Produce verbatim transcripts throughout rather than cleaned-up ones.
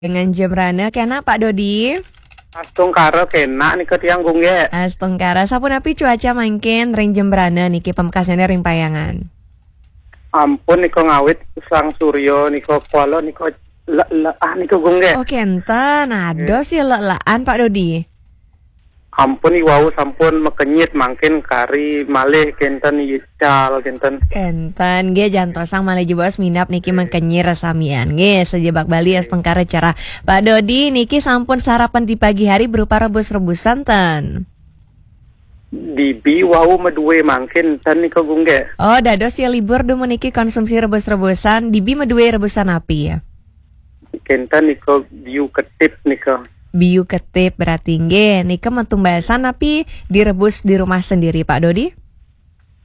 Dengan Jembrana, kena Pak Dodi? Astungkara kena nika tiang, Gung Gek. Astungkara, sapunapi cuaca mangkin ring Jembrana niki, pamekasnyané ring Payangan? Ampun nika ngawit sang surya nika kuala nika le-, le-, ah, nika, Gung Gek. Oh, kenten. Ados ya le-, lean, Pak Dodi. Ampun, iwau sampun makenyit, mangkin kari malih kenten ical kenten. Kenten, nggih, jantosang malih jebos minab niki makenyit samian. Nggih, sajebag Bali astungkara cerah. Pak Dodi, niki sampun sarapan di pagi hari berupa rebus-rebusan ten? Dibi wau madue mangkin ten nika, Gung Gek. Oh, dados ya libur dumun niki konsumsi rebus-rebusan. Dibi madue rebusan api ya? Kenten nika biu ketip nika. Biu ketip berarti nggih. Nika matumbasan api direbus di rumah sendiri, Pak Dodi?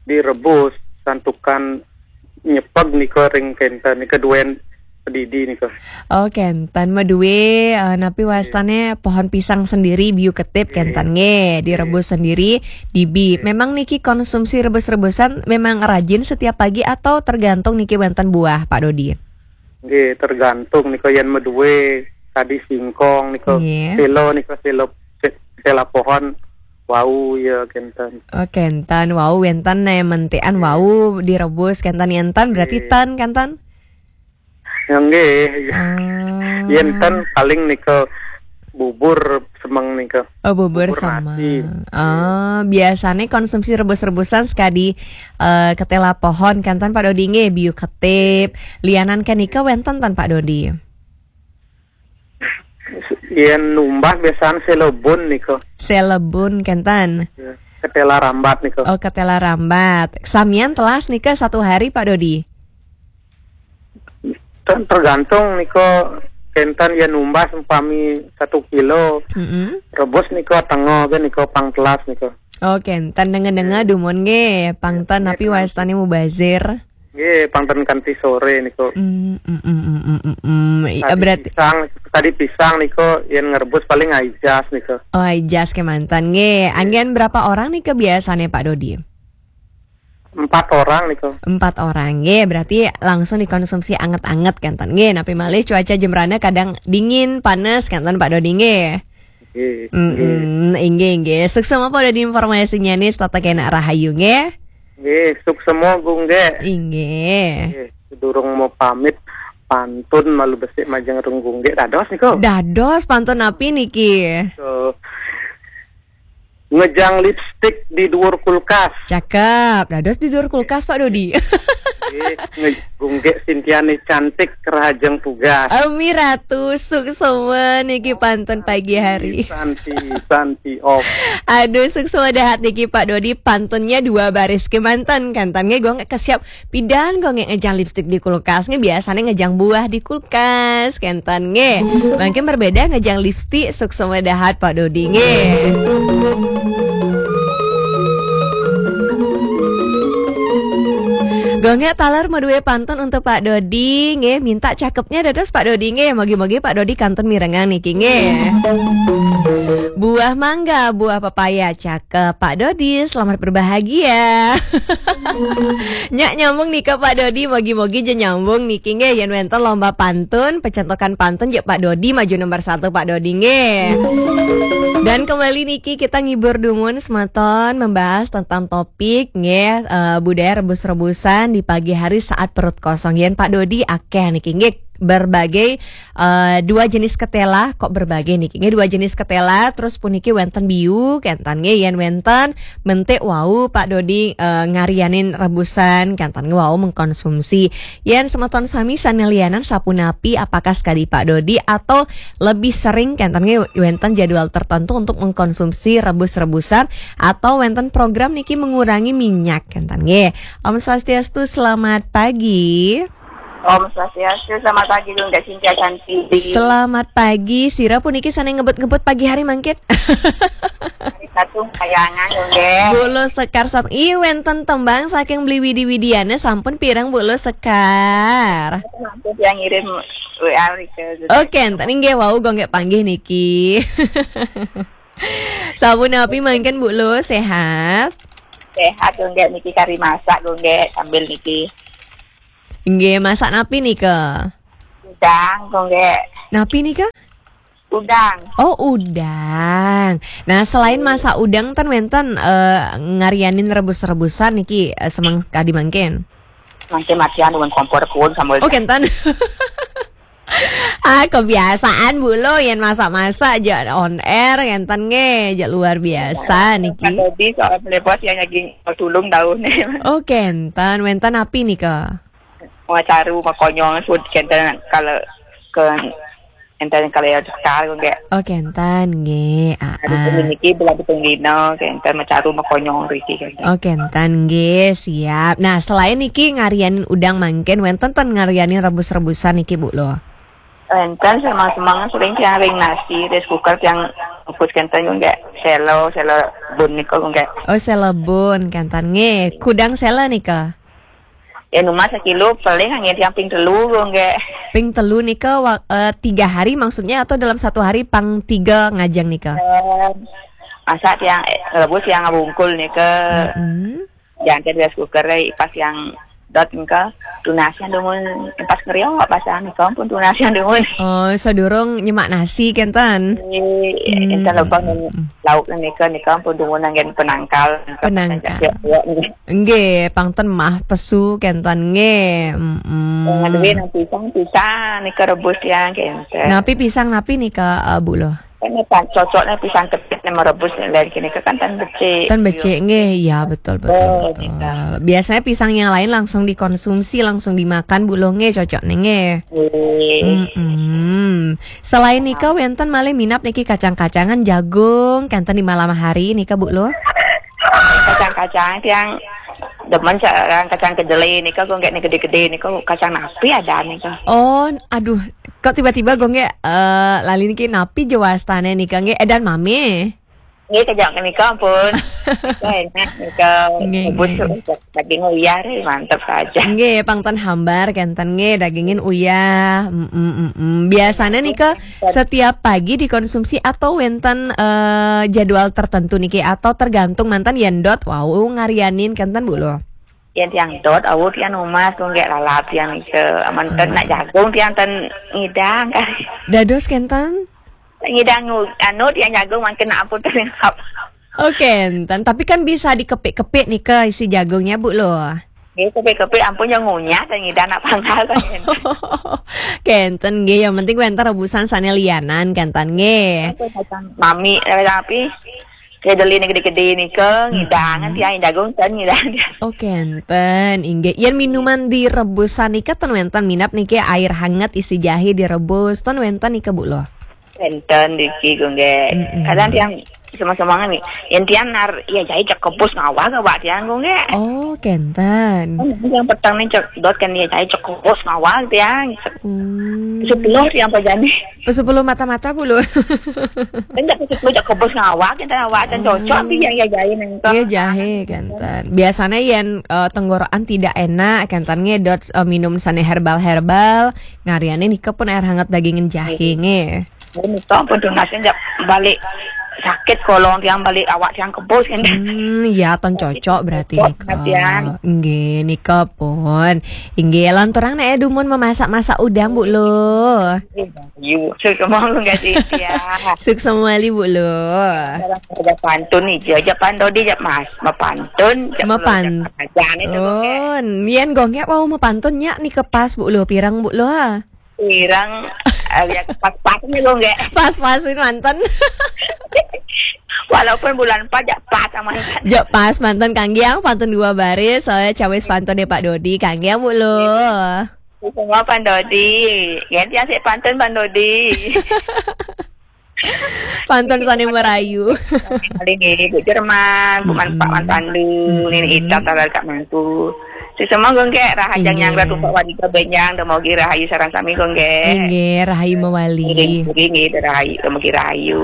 Direbus, santukan nyepeg nika ring kenten nika duen pedidi nika. Oh, kenten madue, eh, napi wastane pohon pisang sendiri, biu ketip, nggih, kenten nggih, direbus sendiri, dibi. Nggih. Memang niki konsumsi rebus-rebusan memang rajin setiap pagi atau tergantung niki wenten buah, Pak Dodi? Nggih, tergantung nika, yen madue kadi singkong nika, nggih, sela nika, sela, se-, sela pohon wau ya kenten. Oh, kenten wau wenten, eh, mentian, nggih, wau direbus kenten, enten berarti, nggih, ten kenten? Ya, nggih. Ah. Yen ten paling nika bubur semeng nika. Oh, bubur semeng. Bubur nasi. Ah, biasane konsumsi rebus-rebusan sekadi, eh, ketela pohon kenten, Pak Dodi nggih, biu ketip. Lianan kenika wenten ten, Pak Dodi? Yen numbas biasane selebun nika. Selebun kenten. Ya, ketela rambat nika. Oh, ketela rambat. Samian telas nika satu hari, Pak Dodi? Ter-, tergantung nika, kenten yen numbas umpami satu kilo. Mm-mm. Rebus nika tengah ke nika pang telas nika. Oh, kenten dengar-dengar, nggih, dumun nggih, pang ten, nggih, napi wastane mubazir? Nggih, pang ten kanti sore nika. Mm, mm, mm, mm, mm, mm, mm. I-, kadi berarti pisang, kadi pisang nika yen ngrebus paling aijas nika. Oh, aijas kemanten nggih. Nggih. Anggen berapa orang nika biasane, Pak Dodi? Empat orang nika. Empat orang, nggih. Berarti langsung dikonsumsi anget-anget kenten, nggih. Napi malih cuaca Jembrana kadang dingin, panas kenten, Pak Dodi, nggih. Nggih, mm-mm, nggih, inggih, inggih. Suksma Pak Dodi informasinya nih, tetep kena rahayu, nggih. Nggih, suksma, Gung Gek. Inggih. Nggih, sedurung mau pamit, pantun malu besik majeng rung Gung Gek. Dados niku. Dados, pantun napi niki? So, ngejang lipstik di duur kulkas. Cakep. Dados di duur kulkas, Pak Dodi. Nggih, nge-, Gung Gek Sintiani cantik kerajeng tugas. Ami Ratu, suksma niki pantun pagi hari. Santi, santi, santi, om. Aduh, suksma dahat niki Pak Dodi, pantunnya dua baris kemanten, kenten nggih, Gung Gek kesiap pidan, Gung Gek ngejang lipstik di kulkas nggih, biasanya ngejang buah di kulkas, kenten nggih. Mangkin berbeda ngejang lipstik, suksma dahat Pak Dodi nggih. Gung Gek taler madue pantun untuk Pak Dodi nggih, minta cakepnya dados Pak Dodi nggih. Mogi-mogi Pak Dodi kantun mirengang niki nggih. Buah mangga, buah pepaya, cakep Pak Dodi, selamat berbahagia. Nyak nyambung nika Pak Dodi, mogi-mogi ja nyambung niki nggih, yen wenten lomba pantun, pecentokan pantun ja Pak Dodi maju nomor satu Pak Dodi nggih. Dan kembali niki kita ngibur dumun semeton membahas tentang topik nggih, eh, budaya rebus-rebusan di pagi hari saat perut kosong. Yen Pak Dodi akeh niki nggih berbagai, eh, dua jenis ketela, kok berbagai niki nggih, dua jenis ketela, terus puniki wenten biu, kenten nggih yen wenten mentik wau Pak Dodi, eh, ngarianin rebusan, kenten nggih wau mengkonsumsi. Yen semeton sami sane lianan sapunapi, apakah sekadi Pak Dodi atau lebih sering kenten nggih wenten jadwal tertentu untuk mengkonsumsi rebus-rebusan atau wenten program niki mengurangi minyak kenten nggih. Om Swastiastu, selamat pagi. Om Swastiastu, selamat pagi, Gung Gek Sintia Santi. Selamat pagi, sira puniki sane ngebut-ngebut pagi hari mangkin? Hari Sabtu Payangan, Gung Gek. Bu Lus Sekar sat-, ih, wenten tembang saking Beli Widi-Widiana, sampun pireng Bu Lus Sekar? Sampun yang ngirim W A ke. Oke, enten inggih wau Gung Gek panggih niki. Sapunapi mangkin Bu Lus, sehat? Sehat, Gung Gek, niki kari masak, Gung Gek, sambil niki. Nggih, masak napi nika? Udang, Gung Gek. Napi nika? Udang. Oh, udang. Nah, selain masak udang ten wenten eh, ngarianin rebus-rebusan niki eh, semeng kadi mangkin? Mangkin matian dengan kompor pun sama. Oh, kenten. Ah, kebiasaan Bu Lo yang masak-masak aja on air kenten nge, aja luar biasa niki. Kalau di soal melepos yang lagi tulung daun. Oh, kenten. Wenten api nika? Macaru, makonyong, sud kenten kalau ke enten kalau yang sekar nggak. Oh, kenten nggih. Ah, hari ah. Niki bulan pitung dino, kenten macaru makonyong riki kenten. Oh, kenten nggih, siap. Nah, selain niki ngarianin udang mangkin, wenten ten ngarianin rebus-rebusan niki Bu Lo? Enten semang-semang sering tiang ring nasi, rice cooker tiang bungkus kenten nggak selo, selo bun nika nggak. Oh, selo bun kenten nggih. Kudang selo nika? Ya, nu mah sekilo paling hanya tiang ping telu nggak. Ping telu nika wa- eh, tiga hari maksudnya atau dalam satu hari pang tiga ngajeng nika? Eh, masa tiang eh, rebus tiang ngabungkul nika. Mm-mm. Jangan rice cooker eh, pas yang dot nika tunasian dumun pas ngeriok pas nika pun tunasian dumun. Oh, sadurung nyemak nasi kenten. Hmm. Enten lebang lauk nika nika pun dumun anggen penangkal. Penangkal. Ya, ya. Nggih, pang ten mah pesu kenten nggih. Mm-mm. Ngadui nang pisang, pisang nika rebus tiang kenten. Napi pisang napi nika eh, Bu Lo? Kan nih, pan- cocoknya pisang kepit nih merebus nih, lain kini kan tan becik. Tan becik nggih, ya betul betul. Oh, betul. Nika. Biasanya pisang yang lain langsung dikonsumsi, langsung dimakan Bu Lo nggih, cocok nih nggih. Nggih. Mm-mm. Selain nika wenten malih minap niki kacang-kacangan jagung, kenten di malam hari nika Bu Lo? Kacang-kacang tiang demen sareng kacang kedelai nika kok nggak nih gede-gede nika kacang napi ada nika. Oh, aduh, kok tiba-tiba gue nggak eh, lali niki napi jawastane nika nggih edan mami. Nggih kejak nika ampun. Nika enak nika. Nggih, bubut nggih. Daging uyah eh, mantep saja. Nggih, pang ten hambar kenten nggih dagingin uyah. Mm, mm, mm, mm. Biasanya nika setiap pagi dikonsumsi atau wenten eh, jadwal tertentu niki atau tergantung manten yen dot wau ngarianin kenten Bu Lo? Yen tiang dot, awu tiang umas kok nggak lalap tiang nika. Aman ten nak jagung tiang ten ngidang kan. Dados kenten? Ngidang ngu- anu tiang jagung mangkin nak ampun ten ngap. Oh, kenten. Tapi kan bisa dikepik-kepik nika isi jagungnya Bu Lo. Nggih, kepik-kepik ampun yang ngunyah dan ngidang nak panggal kan. Kenten nggih, yang penting wenten rebusan sane lianan kenten nggih. Mami eh, tapi kedelai gede-gede nika ngidang kan tiang jagung ten ngidang. Oh, kenten inggih. Yen minuman direbusan nika ten wenten minap niki air hangat isi jahe direbus ten wenten nika Bu Lo? Kenten diki gue nggih. Mm-mm. Kadang tiang sama-sama nih. Yen tiang nar ya jahe cek kebus ngawah ke wak tiang gue nggih. Oh, kenten. Kan yang petang nih cek dot kan ya jahe cek kebus ngawah tiang. Hmm. Sepuluh tiang apa jani? Sepuluh mata-mata Bu Lo. Kan cek sepuluh cek kebus ngawah kita ngawah dan cocok sih yang ya jahe nengko. Iya jahe kenten. Biasanya yen eh, tenggorokan tidak enak kenten ngedot eh, minum sane herbal-herbal. Ngariane nika pun air hangat dagingin jahe nggih. Nika pun tunasin jak balik sakit kolong tiang balik awak tiang kebus kan. Hmm, ya ten cocok berarti nika. Nggih, nika pun. Inggih, lanturang nek dumun memasak-masak udang Bu Lo. Yu, sukses monggo nggak sih ya. Sukses mawali Bu Lo. Ada pantun nih, aja pantun di jak Mas, mau pantun, jak Mapan. Aja nih tuh. Oh, nien gonggek mau mepantun nyak nika pas Bu Lo, pirang Bu Lo ha. Pirang eh, ya pas-pasnya gue nggak. Pas-pasin manten. Walaupun bulan empat ya pas sama. Jak pas manten kanggiang pantun dua baris, soalnya cawis pantun deh Pak Dodi, kanggiang Bu Lo. Semua Pak Dodi. Ganti asik pantun Pak Dodi. Pantun sane merayu. Kali ini Bu Jerman, Bu Man Pak Mantandu, ini Ita talar Kak Mantu. Sesama gonggek rahajang yang ratu Pak Wadika Benjang, dan mau rahayu sarang sami gonggek. Inggih, rahayu mawali. Inggih, rahayu, mau rahayu.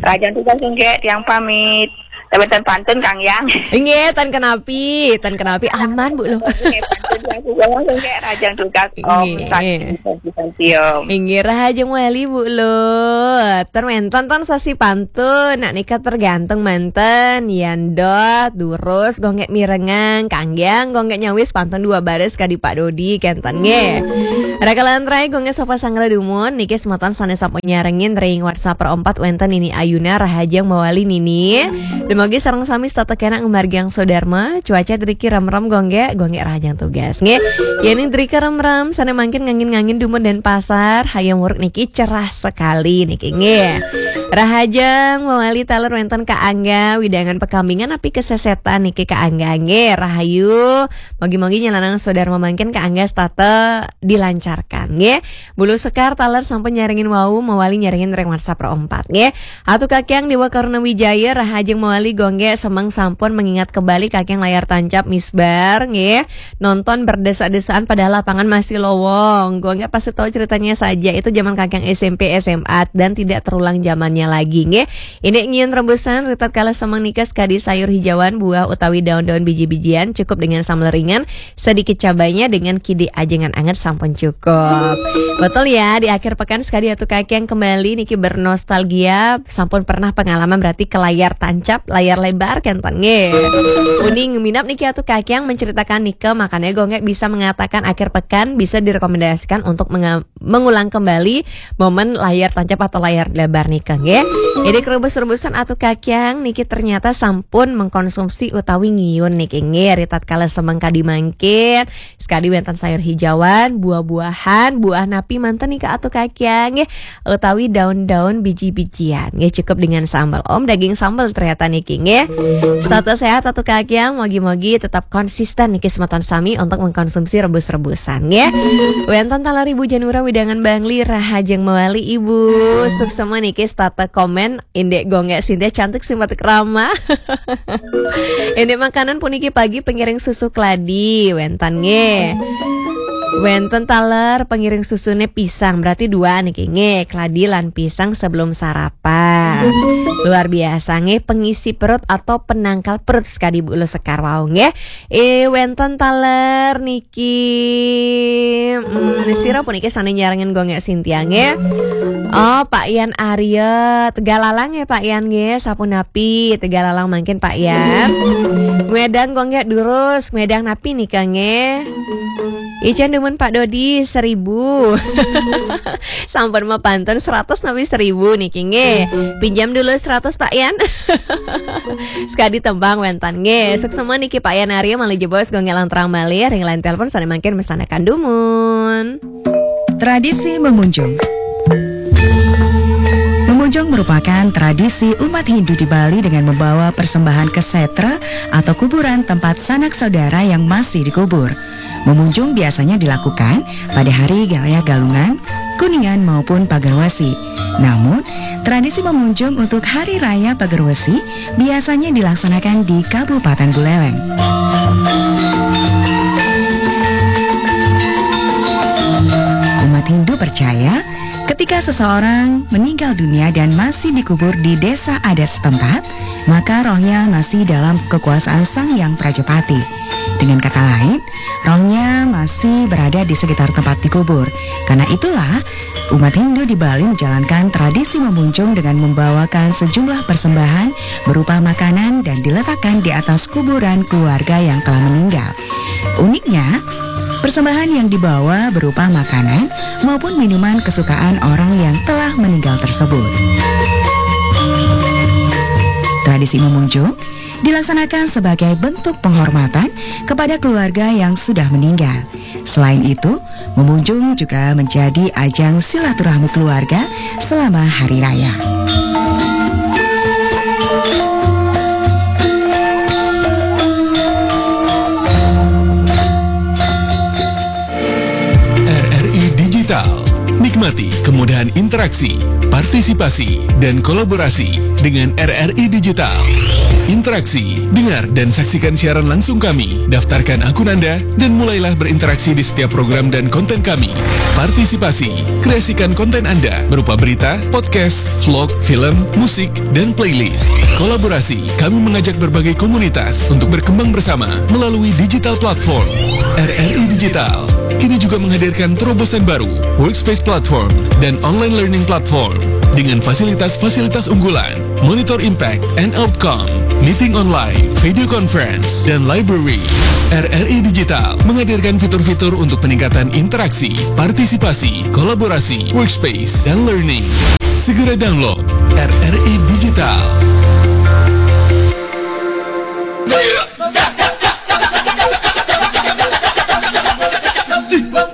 Rahajang tugas gonggek, tiang pamit. Tapi ten pantun kanggiang. Inggih, ten kenapi, ten kenapi aman Bu Lo. Inggih, pantun yang aku bawa gonggek, rahajang tugas. Om Santi, Santi, Santi, Om. Inggih, rahajeng wali Bu Lo. Ten wenten ten sasi pantun, nak nika tergantung manten. Yan dot, durus, gonggek mirengang, kanggiang, gonggek nyawis pantun dua baris kadi Pak Dodi, kenten nggih. Rakalan rai, gue nggak sofa sanggra dumun, niki semeton sané sampun nyarengin ring WhatsApp perempat wénten Nini Ayuna, rahajeng mawali Nini. Dumugi sareng sami setata kénak ngamargiang sodarma, cuaca driki remrem gue nggak, gue nggak rahajeng tugas. Nggih, yéning driki remrem, sané mangkin ngangin-ngangin dumun Denpasar, hayam wuruk niki cerah sekali niki nggih. Rahajeng mawali taler wénten Ka Angga, wewidangan pakambingan napi kasésétan niki Ka Angga nggih, rahayu. Mugi-mugi nyelanaken sodarma mangkin Ka Angga setata dilancarkan nggih. Bulu Sekar taler sampun nyarengin wau, mawali nyarengin ring WhatsApp perempat nggih. Atu Kakiang Dewa Karuna Wijaya, rahajeng mawali gue nggak semeng sampun mengingat kembali Kakiang layar tancap misbar nggih. Nonton berdesak-desakan padahal lapangan masih lowong. Gue nggak pasti tahu ceritanya saja, itu zaman Kakiang S M P, S M A dan tidak terulang zamannya lagi nggih. Ini ngiun rebusan, ritat kala semeng nika sekadi sayur hijauan, buah utawi daun-daun biji-bijian, cukup dengan sambal ringan, sedikit cabainya dengan kidi ajengan anget sampun cukup. Betul ya, di akhir pekan sekadi Atu Kakiang kembali niki bernostalgia, sampun pernah pengalaman berarti ke layar tancap, layar lebar kenten nggih. Uning minap niki Atu Kakiang menceritakan nika, makanya gue nggak bisa mengatakan akhir pekan bisa direkomendasikan untuk menga- mengulang kembali momen layar tancap atau layar lebar nika nggih. Jadi kerubus-rebusan Atu Kakiang niki ternyata sampun mengkonsumsi utawi ngiun niki nggih. Ritat kala semeng kadi mangkin, sekadi wénten sayur hijauan, buah-buahan, buah napi manten nika Atu Kakiang nggih, utawi daun-daun biji-bijian nggih, cukup dengan sambal. Om daging sambal ternyata niki nggih. Setata sehat Atu Kakiang, mugi-mugi tetap konsisten niki semeton sami untuk mengkonsumsi rebus-rebusan nggih. Wénten taler Ibu Janura wewidangan Bangli, rahajeng mawali Ibu. Suksma niki setata komen, indik gue nggak Sintia cantik simpatik ramah. Indik makanan puniki pagi pengiring susu kladi, wénten nggih. Wénten taler pengiring susuné pisang, berarti dua niki nggih, kladi lan pisang sebelum sarapan. Luar biasa nggih, pengisi perut atau penangkal perut sekadi Bulu Sekar wau nggih. Eh, wénten taler niki. Hmm, sira puniki sané nyarengin gue nggak Sintia nggih. Oh, Pak Yan Arya, Tegalalang ya Pak Yan nggih, sapunapi Tegalalang mangkin Pak Yan. Ngwedang gue nggak durus, ngwedang napi nika nggih. Icén dumun Pak Dodi seribu. Sampun mapantun seratus napi seribu niki nggih. Pinjam dulu seratus Pak Yan. Sekadi tembang wénten nggih. Suksma niki Pak Yan Arya malih jebos gue nggak lanturang malih ring line telepon sané mangkin mesanakan dumun. Tradisi memunjung. Memunjung merupakan tradisi umat Hindu di Bali dengan membawa persembahan ke setra atau kuburan tempat sanak saudara yang masih dikubur. Memunjung biasanya dilakukan pada hari raya Galungan, Kuningan maupun Pagerwesi. Namun, tradisi memunjung untuk hari raya Pagerwesi biasanya dilaksanakan di Kabupaten Buleleng. Umat Hindu percaya, ketika seseorang meninggal dunia dan masih dikubur di desa adat setempat, maka rohnya masih dalam kekuasaan Sang Yang Prajapati. Dengan kata lain, rohnya masih berada di sekitar tempat dikubur. Karena itulah, umat Hindu di Bali menjalankan tradisi memunjung dengan membawakan sejumlah persembahan berupa makanan dan diletakkan di atas kuburan keluarga yang telah meninggal. Uniknya, persembahan yang dibawa berupa makanan maupun minuman kesukaan orang yang telah meninggal tersebut. Tradisi memunjung dilaksanakan sebagai bentuk penghormatan kepada keluarga yang sudah meninggal. Selain itu, memunjung juga menjadi ajang silaturahmi keluarga selama hari raya. R R I Digital. Nikmati kemudahan interaksi, partisipasi, dan kolaborasi dengan R R I Digital. Interaksi, dengar dan saksikan siaran langsung kami. Daftarkan akun Anda dan mulailah berinteraksi di setiap program dan konten kami. Partisipasi, kreasikan konten Anda berupa berita, podcast, vlog, film, musik, dan playlist. Kolaborasi, kami mengajak berbagai komunitas untuk berkembang bersama melalui digital platform. R R I Digital kini juga menghadirkan terobosan baru, Workspace Platform dan Online Learning Platform dengan fasilitas-fasilitas unggulan, Monitor Impact and Outcome, meeting online, video conference, dan library. R R I Digital menghadirkan fitur-fitur untuk peningkatan interaksi, partisipasi, kolaborasi, workspace, dan learning. Segera download R R I Digital.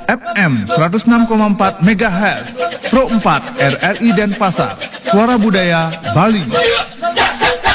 F M seratus enam koma empat megahertz, Pro empat R R I Denpasar, Suara Budaya Bali.